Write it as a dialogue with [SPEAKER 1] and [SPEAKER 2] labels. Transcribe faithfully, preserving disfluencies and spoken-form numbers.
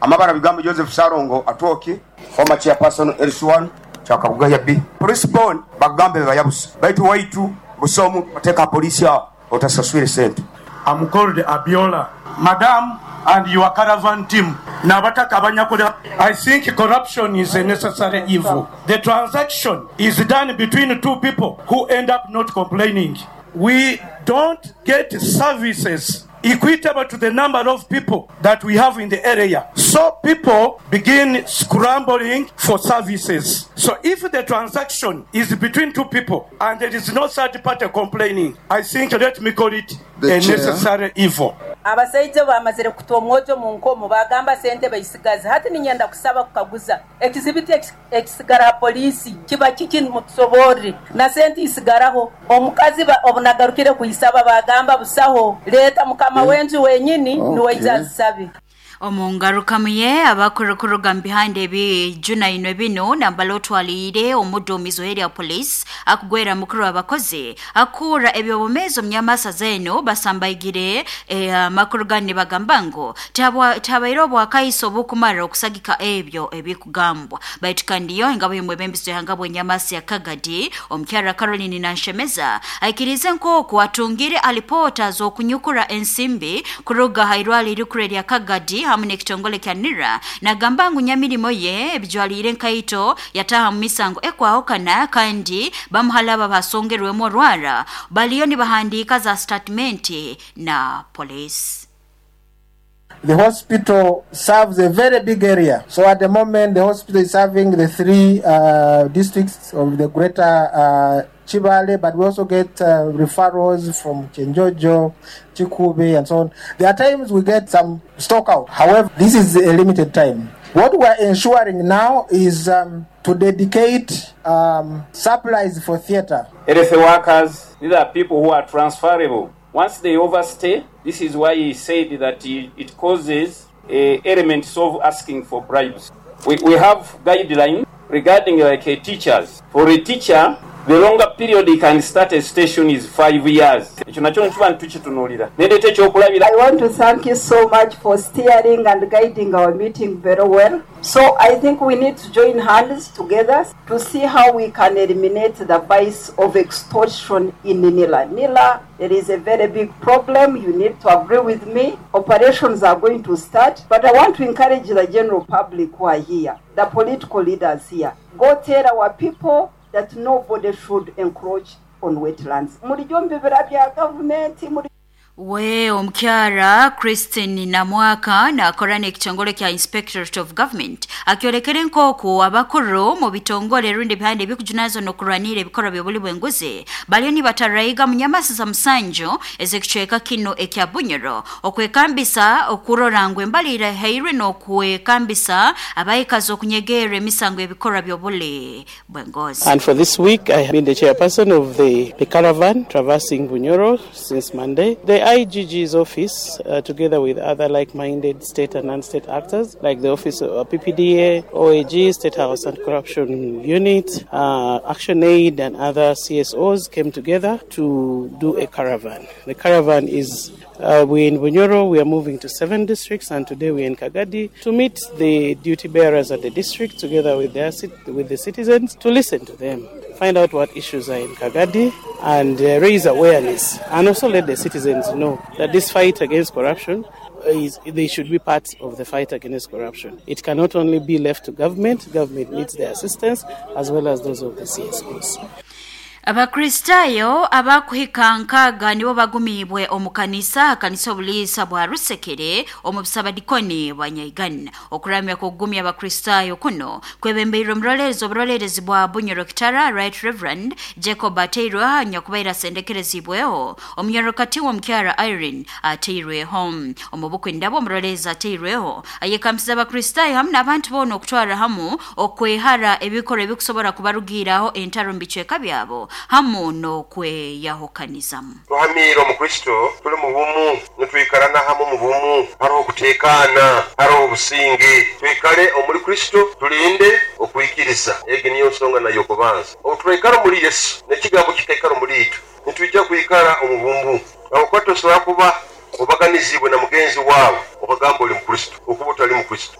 [SPEAKER 1] Amabara bigambo Joseph Sarongo Atwoki, former chairperson L C one Kyakabugaya B. Police bond bagambe bayabusa, baitu waitu busomu oteeka polisi awo otasaswire sente.
[SPEAKER 2] I'm called Abiola. Madam and your caravan team n'abataka abanyakuli. I think corruption is a necessary evil. The transaction is done between two people who end up not complaining. We don't get services equitable to the number of people that we have in the area. So people begin scrambling for services. So if the transaction is between two people and there is no third party complaining, I think let me call it
[SPEAKER 3] The
[SPEAKER 2] a
[SPEAKER 3] chair.
[SPEAKER 2] Necessary evil.
[SPEAKER 4] Abasaija bamazire kuta omwojo mu nkomo, bagamba sente baisigaze. Hati ninyenda kusaba kukaguza ekizibiti ekisigara ha poliisi kiba kiki? Mutusoborre. Na sente isigaraho omukazi obunagarukire kuisaba, bagamba busaho, leeta mukama w'enju wenyini niwe
[SPEAKER 3] Okay.
[SPEAKER 4] azisabe.
[SPEAKER 5] Omu ngarukamu ye, abakurukuruga mu bihanda ebijunainwe bino nambala otwaliire omuduumizi erya police akugwera mukuru w'abakozi akuura ebyobumeezi omunyamasa zeno basambaigire amakuru gani nibagamba ngu tabaire obwakaiso obukumara okusagika ebyo ebikugambwa. Baitu kandi yo engabo y'omwebembezi w'ihanga bw'enyamasi ya Kagadi, omukyara Caroline Nanshemeza, aikirize nk'oku atungire alipoota z'okunyukura ensimbi kuruga ha irwaliro erikuru erya Kagadi hamwe n'ekitongole kya NIRA. Nagamba ngu nyamirimo ye ebijwaliire enkaito yataha mu misango ekwahukana, kandi bamuhalaba basongerwemu orwara baliyo nibahandiika za statement na police.
[SPEAKER 6] The hospital serves a very big area. So at the moment, the hospital is serving the three uh, districts of the greater uh, Kibaale, but we also get uh, referrals from Kyenjojo, Kikuube, and so on. There are times we get some stock out. However, this is a limited time. What we are ensuring now is um, to dedicate um, supplies for theatre.
[SPEAKER 7] Health workers, these are people who are transferable. Once they overstay, this is why he said that it causes uh, elements of asking for bribes. We, we have guidelines regarding like uh, teachers. For a teacher, the longer period he can start a station is five years. Ekyo nakyo nkiba ntukitunuulira nendeeta ekyokulabira.
[SPEAKER 8] I want to thank you so much for steering and guiding our meeting very well. So I think we need to join hands together to see how we can eliminate the vice of extortion in N I R A. N I R A, there is a very big problem. You need to agree with me. Operations are going to start, but I want to encourage the general public who are here, the political leaders here. Go tell our people that nobody should encroach on wetlands. Mulijjo mu bibira bya gavumenti muri
[SPEAKER 5] We omukyara Christine Namwaka nakora n'ekitongole kya Inspectorate of Government akyolekere nk'oku abakuru mu bitongole rundi bihande ebikujunazo n'okurwanira ebikorwa by'obuli bw'enguzi baliyo nibatarayiga mu nyamasi za musanju ez'ekicweka kino ekya Bunyoro okwekambisa okurora ngu embalira hairwe n'okwekambisa abayikazi okunyegerera emisango y'ebikorwa by'obuli bw'engozi.
[SPEAKER 9] And for this week, I have been the chairperson of the, the caravan traversing Bunyoro since Monday. The I G G's office, uh, together with other like-minded state and non-state actors, like the office of P P D A, O A G, State House Anti-Corruption Unit, uh, Action Aid, and other C S Os came together to do a caravan. The caravan is uh, we're in Bunyoro, we are moving to seven districts, and today we're in Kagadi to meet the duty bearers at the district together with, their, with the citizens to listen to them, find out what issues are in Kagadi, and uh, raise awareness, and also let the citizens know that this fight against corruption is, they should be part of the fight against corruption. It cannot only be left to government, government needs their assistance as well as those of the C S Os.
[SPEAKER 5] Abakristaayo abakuhika nkaaga nibo bagumiibwe omu kanisa kanisa obuliisa bwa Rusekere omu busabadikoni bwa Nyaigana. Okuramya kugumya abakristaayo kuno kwebembeirwe omurolerezi oburolerezi bwa Bunyoro Kitara, Right Reverend Jacob Ateirwe, nyakubaire asendekerezibweho omunyorokati w'omukyara Irene Ateirweho. Omu bukwindabo, omurolerezi Ateirweho ayekamisiza abakristaayo hamu n'abantu boona okutwara hamu okwehara ebikorwa ebikusobora kubarugiraho entaro mu bicweka byabo hamu n'okweyahukanizamu.
[SPEAKER 10] Tuhamiire omu Kristo, tuli mu bumu, nitwikarana hamu mu bumu, hariho okuteekaana, hariho obusinge. Twikale omuri Kristo, tulinde okwikiriza. Egi niyo nsonga nayo okubanza. Obu turaikara omuri Yesu n'ekigambo kikaikara omuri itwe, nitwija kwikara omu bumu, habwokuba tosobora kuba obaganizibwe na mugenzi waawe okagamba oli mukristo okuba otali mukristo.